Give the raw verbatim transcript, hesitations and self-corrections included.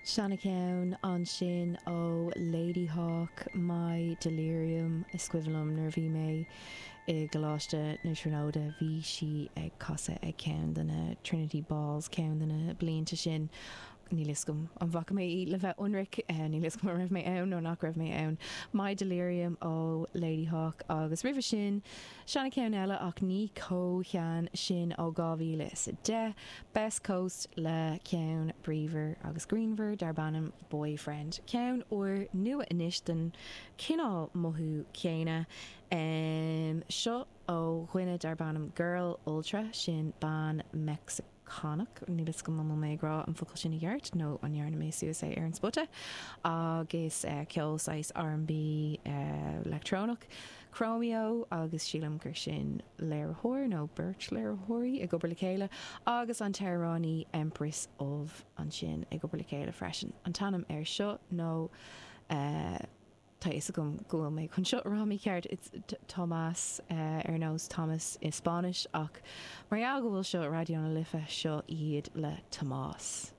Seancheann ansin ó Ladyhawke My Delirium is cuimhin liom nuair a bhí mé i gColáiste na Tríonóide bhí sí ag casadh ag ceann de na Trinity Balls ceann de na blianta sin níl a fhios agam an bhfaca mé í le bheith ionraic níl a fhios agam raibh mé ann nó nach raibh mé ann. My Delirium ó Ladyhawke agus roimhe sin seancheann eile ach ní chomh sean sin ó dhá mhíle is a deich, Best Coast le ceann bríomhar agus grianmhar darb ainm Boyfriend. Ceann úr nua anois den chineál mothú céanna um, seo ó dhuine darb ainm Girl Ultra sin bean Meicsiceánach níl a fhios agam an mé ag rá an focal sin i gceart nó an ndearna mé suas é ar an spota agus uh, ceol saghas R&B uh, leictreonach. Chromeo agus sílim gur sin léiritheoir nó beirt léiritheoirí ag obair le chéile agus an t-amhránaí Empress of ansin ag obair le chéile freisin. An t-ainm air seo nó uh, Tá is gom go bhfuil mé chun seo rá mícheart it's Tomás uh, ar nós Thomas i Spáinnis ach mar go bhfuil seo Raidió na Life seo iad le Tomás.